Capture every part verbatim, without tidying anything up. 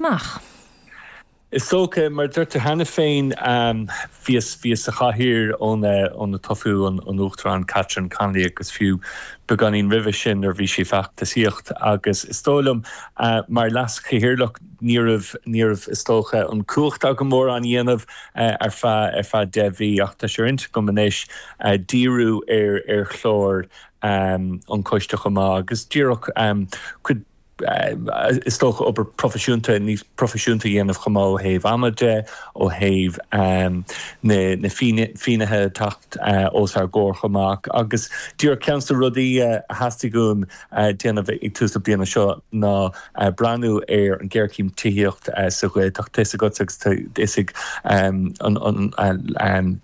bhaint amach? Is dócha mar dúirt tú cheana féin bhíos bhíos sa chathaoir óna toghadh an an Uachtarán Catherine Connolly agus fiú beagáinín roimhe sin nuair bhí sí feachtasaíocht agus is dóigh liom mar leaschathaoirleach ní raibh ní raibh is dócha an cumhacht agam mórán a dhéanamh ar feadh ar feadh deich mhí ach tá sé ar intinn agam anois díriú ar ar chlár an choiste chomh maith agus díreach cuid is dócha obair proifisiúnta níos proifisiúnta a dhéanamh chomh maith ó thaobh ama de, ó thaobh na na finnéithe teacht os ár gcomhair chomh maith agus díreach ceann de na rudaí a theastaigh uaim déanamh ag tús na bliana seo ná breathnú ar an ghéarchéim tithíocht sa Ghaeltacht. Tá a fhios agat agus tá a fhios ag an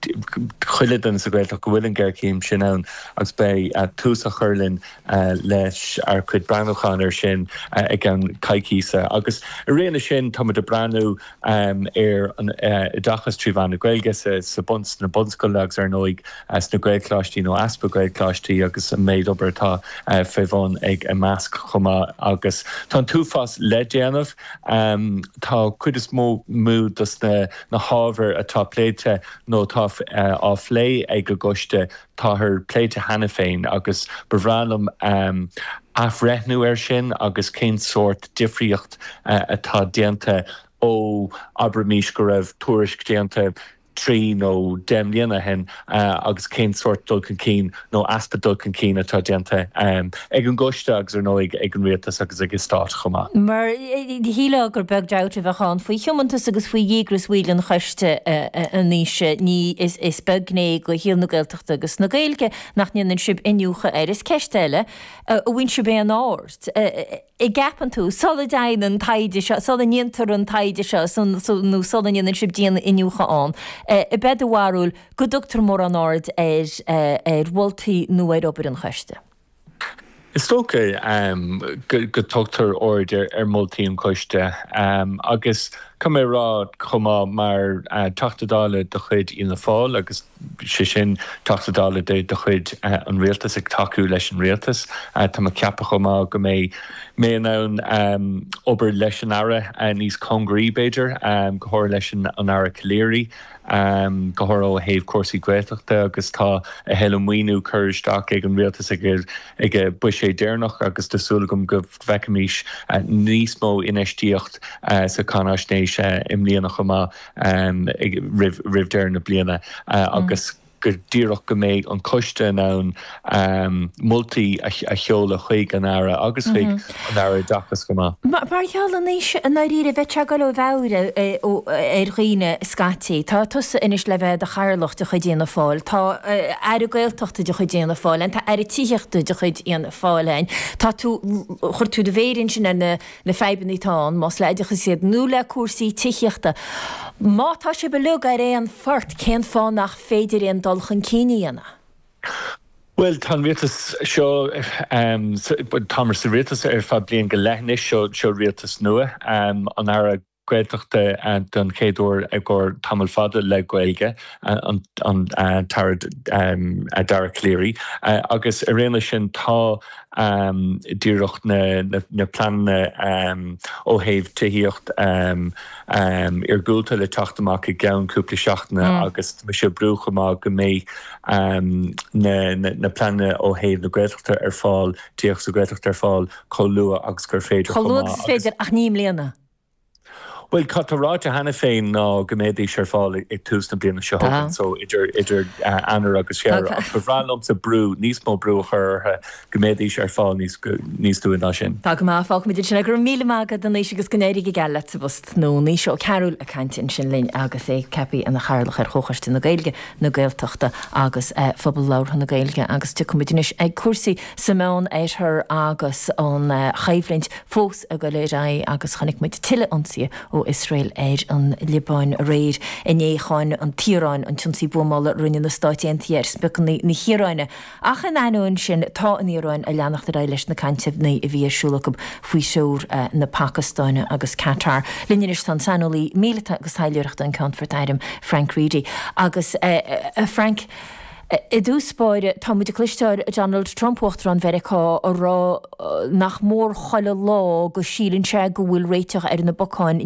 chuile duine sa Ghaeltacht go bhfuil an ghéarchéim sin ann agus beidh tús á chur linn leis ár cuid breathnúchán ar sin i gceann coicíse. Agus i rith na sin táimid ag breathnú ar an oideachas trí mheán na Gaeilge sa bun sna bunscoileanna agus ar ndóigh sna Gaelcholáistí nó easpa Gaelcholáistí agus an méid obair atá fé bhun ag Imeasc chomh maith agus tá an t-uafás le déanamh. Tá cuid is mó mó dos na na hábhair atá pléite nó atá á phlé ag an gcoiste táthar pléite cheana féin agus ba bhreá liom athbhreithniú air sin agus cén sórt difríocht atá déanta ó abraimis go raibh tuairisc déanta trí nó deich mbliana ó shin agus cén sórt dul chun cinn nó easpa dul chun cinn atá déanta ag an gcoiste agus ar ndóigh ag an rialtas agus ag an stát chomh maith. Mar shílfeá gur beag dabht a bheadh ann faoi thiomantas agus faoi dhíograis bhaill an choiste anois. Ní is beag gné de shaol na Gaeltachta agus na Gaeilge nach ndéanann sibh iniúchadh air. Is ceist eile, an bhfaigheann sibh aon aird, an gceapann tú, sula dtéann an taighde seo, sula ndéantar an taighde seo nó sula ndéanann sibh dian-iniúchadh ann, ab é do bharúil go dtugtar mórán aird ar ar mholtaí nó ar obair an choiste? Is dócha go dtugtar aird ar mholtaí an choiste agus caithfidh mé a rá chomh maith mar Teachta Dála de chuid Fhianna Fáil agus sé sin Teachta Dála de chuid an rialtais ag tacú leis an rialtas, tá mé ag ceapadh chomh maith go mbeidh mé in ann obair leis an Aire níos cóngaraí b'fhéidir, go háirithe leis an Aire Calleary, go háirithe ó thaobh cúrsaí Gaeltachta agus tá a thuilleadh maoiniú curtha isteach ag an rialtas ag a buiséad deireanach agus tá súil agam go bhfeicfimis níos mó infheistíocht sa cháinaisnéis i mbliana chomh maith roimh deireadh na bliana agus go díreach go mbeidh an coiste in ann moltaí a sheoladh chuig an Aire agus chuig an Aire Oideachais chomh maith. Mar gheall anois i ndáiríre bheadh sé ag dul ó mheabhair ar dhaoine scaití. Tá tusa anois le bheith i do chathaoirleach de chuid Fhianna Fáil, tá Aire Gaeltachta de chuid Fhianna Fáil ann, tá Aire Tithíochta de chuid Fhianna Fáil ann. Tá tú, chuir tú do mhéar ansin ar na na fadhbanna atá ann, más le oideachas iad nó le cúrsaí tithíochta. Má tá sibh uilig ar aon phort, cén fáth nach féidir aon dul chun cinn a dhéanamh? Bhuel, tá an rialtas seo, táimid sa rialtas ar feadh bliain go leith anois, seo seo rialtas nua, an Aire Gaeltachta don chéad uair i gcomhair tamall fada le Gaeilge, an tAire Dara Calleary, agus ar aon leis sin tá díreach na pleananna ó thaobh tithíocht iargúlta le teacht amach i gceann cúpla seachtaine agus tá mise ag brú chomh maith go mbeidh na pleananna ó thaobh na Gaeltachta ar fáil, tithíocht sa Ghaeltacht ar fáil chomh luath agus gur féidir chomh maith. Chomh luath agus is féidir ach ní i mbliana. Bhuel, cad tá ráite cheana féin ná go mbeidís ar fáil ag tús na bliana seo chugainn, so idir idir Eanáir agus Feabhra, ach ba bhreá liomsa brú, níos mó brú a chur orthu go mbeidís ar fáil níos níos luaithe ná sin. Tá go maith, fágfaimid ansin é. Go raibh míle maith agat a Naoise agus go n-éirí go geal leat sa bpost nua. Naoise Ó Cearúil ag caint ansin linn agus é ceaptha ina chathaoirleach ar Chomhchoiste na Gaeilge, na Gaeltachta agus Phobal Labhartha na Gaeilge agus tiocfaimid anois ag cúrsaí sa Meán Oirthear agus an choimhlint fós ag dul ar aghaidh agus chonaic muid tuilleadh ionsaithe ó Iosrael ar an Liobáin aréir. Inné cháin an tIaráin an t-ionsaí buamála a rinne na Stáit Aontaithe ar spriocanna na hIaráine ach in ainneoin sin tá an Iaráin ag leanacht ar aghaidh leis na cainteanna a bhí ar siúl acu faoi threoir na Pacastáine agus Qatar. Linn anois tá an saineolaí míleata agus taidhleoireachta an Ceannfort Airm Frank Reidy agus a Frank, I dtús báire, tá muid ag cloisteáil Donald Trump, Uachtarán Mheiriceá, ag rá nach mór chuile lá go síleann sé go bhfuil réiteach ar na bacáin.